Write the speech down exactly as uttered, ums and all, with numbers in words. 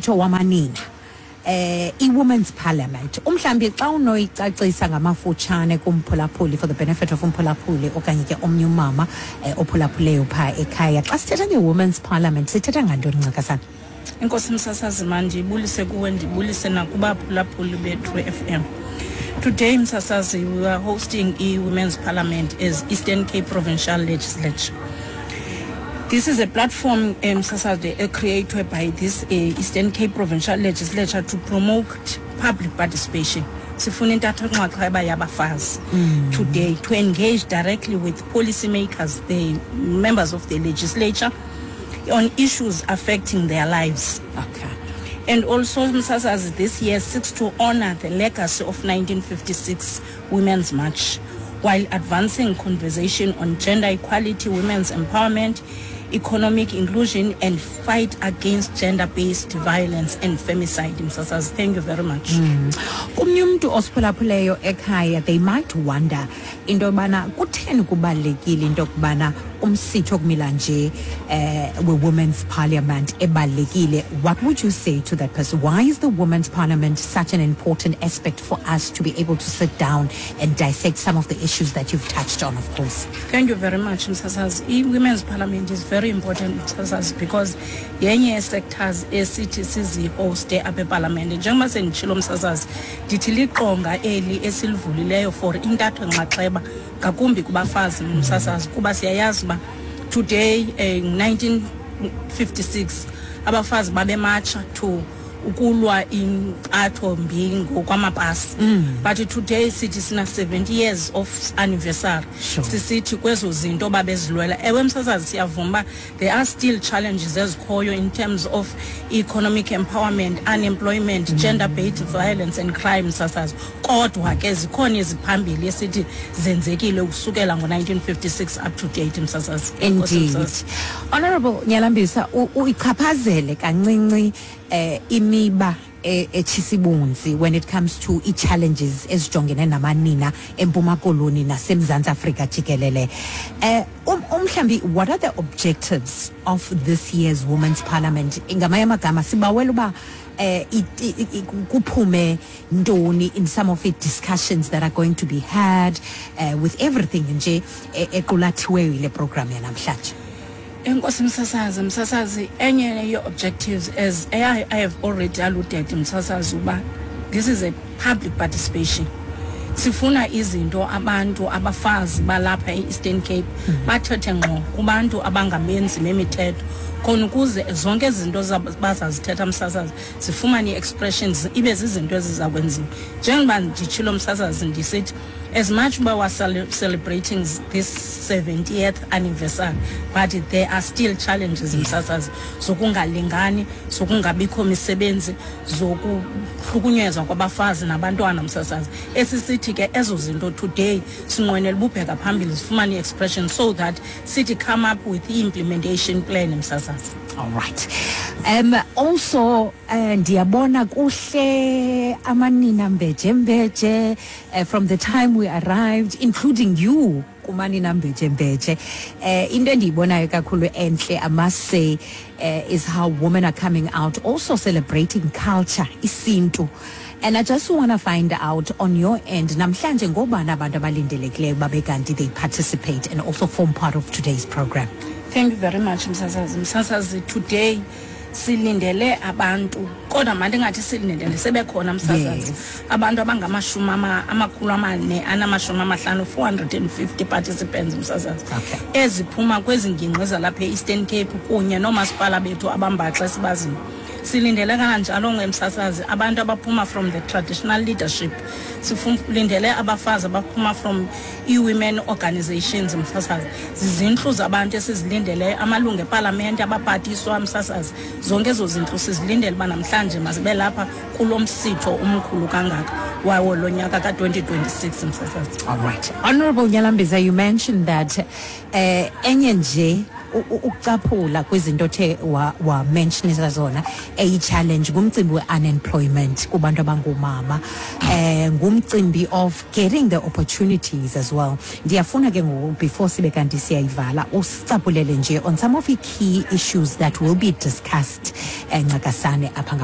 Ngumsitho wamanina, eh i-Women's Parliament. Umhlambi xa unoyicacisa ngamafutshane kumphulaphuli, for the benefit of umphulaphuli okanye ke omnye umama eh, ophulaphuleyo phaa ekhaya, xa sithetha nge-Women's Parliament sithetha ngantoni, ncakasana? Enkosi, msasazi. Mandibulise kuwe, ndibulise nakubaphulaphuli bethu F M. Today, msasazi, we are hosting i-Women's Parliament as Eastern Cape Provincial Legislature. This is a platform, um, msasazi, uh, created by this uh, Eastern Cape Provincial Legislature to promote public participation. Sifuna intatho nxaxheba yabafazi today to engage directly with policymakers, the members of the legislature, on issues affecting their lives. Okay And also, msasazi, this year seeks to honor the legacy of nineteen fifty-six Women's March while advancing conversation on gender equality, women's empowerment, economic inclusion, and fight against gender-based violence and femicide. Msasazi, thank you very much. Kumnye umntu osiphulaphuleyo ekhaya, they might wonder into yobana kutheni kubalulekile into yokubana umsitho okumila nje eh we-Women's Parliament ebalulekile. What would you say to that person? Why is the Women's Parliament such an important aspect for us to be able to sit down and dissect some of the issues that you've touched on, of course? Thank you very much, msasazi. I-Women's Parliament is very important, msasazi, because yenye yee-sectors esithi sizihoste apha epalamente. Njengoba senditshilo, msasazi, ndithi liqonga eli esilivulileyo for intatho nxaxheba ngakumbi kubafazi, msasazi, kuba siyayazi uba today, eh, nineteen fifty-six abafazi babematsha to ukulwa impatho mbi ngokwamapasi, but today sithi sina seventy years of anniversary. Sure. Sisithi kwezo zinto babezilwela, ewe msasazi, siyavuma uba there are still challenges ezikhoyo in terms of economic empowerment, unemployment, gender based violence and crime, msasazi, kodwa ke zikhona eziphambili esithi zenzekile ukusukela ngo-nineteen fifty-six up to date, msasazi. Enkosi, Indeed. msasazi. Honorable Nyalambisa, u- uyichaphazele kancinci eh imiba eh, etshisibunzi when it comes to i-challenges ezijongene namanina eMpuma Koloni naseMzantsi Afrika jikelele. Eh um, umhlambi what are the objectives of this year's Women's Parliament? Ngamanye amagama, sibawela uba eh it- i- i- kuphume ntoni in some of the discussions that are going to be had, uh, with everything nje e- equlathiweyo yile program yanamhlanje? Enkosi, msasazi. Msasazi, enye ye-objectives, as I, I have already alluded, msasazi, uba this is a public participation. Sifuna izinto abantu abafazi balapha e-Eastern Cape bathethe ngqo kubantu abangamenzi bemithetho, khona ukuze zonke izinto zab- bazazithetha, msasazi, zifumane ii-expressions, ibe zizinto eziza kwenziwa. Njengoba nditshilo, msasazi, ndisithi as much uba we're cele- celebrating this seventieth anniversary, but there are still challenges, msasazi, zokungalingani, zokungabikho misebenzi, zokuhlukunyezwa kwabafazi nabantwana, msasazi. Esisithi ke ezo zinto today sinqwenela ububheka phambili zifumane i-expression so that sithi come up with i-implementation plan, msasazi. All right. Um also uh, ndiyabona kuhle amanina mbeje mbeje uh, from the time we arrived, including you kumanina mbeje mbeje. Uh, into endiyibonayo kakhulu enhle, I must say, uh, is how women are coming out, also celebrating culture, isintu. And I just want to find out on your end, namhlanje ngobani abantu abalindelekileyo babe kanti they participate and also form part of today's program? Thank you very much, msasazi. Msasazi, today silindele abantu, kodwa mandingathi silindele, sebekhona, msasazi. Yes. Abantu abangamashumi ama- amakhulu amane anamashumi amahlanu, four hundred and fifty participants, msasazi, Okay. eziphuma kwezi ngingqi zalapha e-Eastern Cape kunye noomasipala bethu abambaxa esibaziyo. Silindele kananjalo, ngemsasazi, abantu abaphuma from the traditional leadership. Silindele abafazi abaphuma from i-women organizations, msasazi. Zizintlu zabantu esizilindeleyo, amalungu epalamente, abaphathiswa, msasazi. Zonke ezo zintlu sizilindele uba namhlanje mazibe lapha kulo msitho umkhulu kangaka wawo lo nyaka ka-twenty twenty-six, msasazi. All right. Honorable Nyalambisa, you mentioned that eh enye nje u- u- ukucaphula kwizinto othe wa, wa mentionisa zona eyi challenge ngumcimbi we-unemployment kubantu abangomama, eh ngumcimbi of getting the opportunities as well. Ndiyafuna ke ngoku, before sibe kanti siyayivala, usicaphulele nje on some of the key issues that will be discussed eh ncakasane apha.